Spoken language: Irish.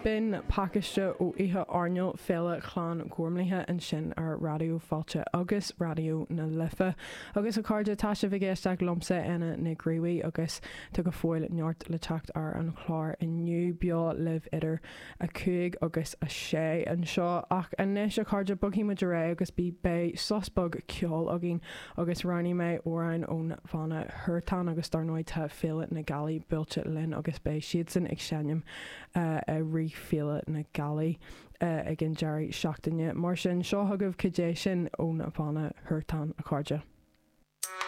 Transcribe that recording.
B'in pacáiste ó oíche airneáil Féile Chlann Ghormlaithe ansin ar Raidió Fáilte agus Raidió na Life. Agus a chairde, tá sibh ag éisteacht liomsa, Éanna Nic Gríobhaigh, agus tá go fóill neart le teacht ar an chlár inniu, beo libh idir 5 agus 6 anseo. Ach anois, a chairde, bogfaidh muid ar aghaidh agus beidh sos beag ceoil againn agus roghnaigh mé amhrán ón bhanna Huartan agus dar ndóigh tá Féile na Gealaí buailte linn agus beidh siadsan ag seinm i rith Féile na Gealaí ag an deireadh seachtaine. Mar sin, seo chugaibh Cad é Sin ón bhanna Huartan, a chairde.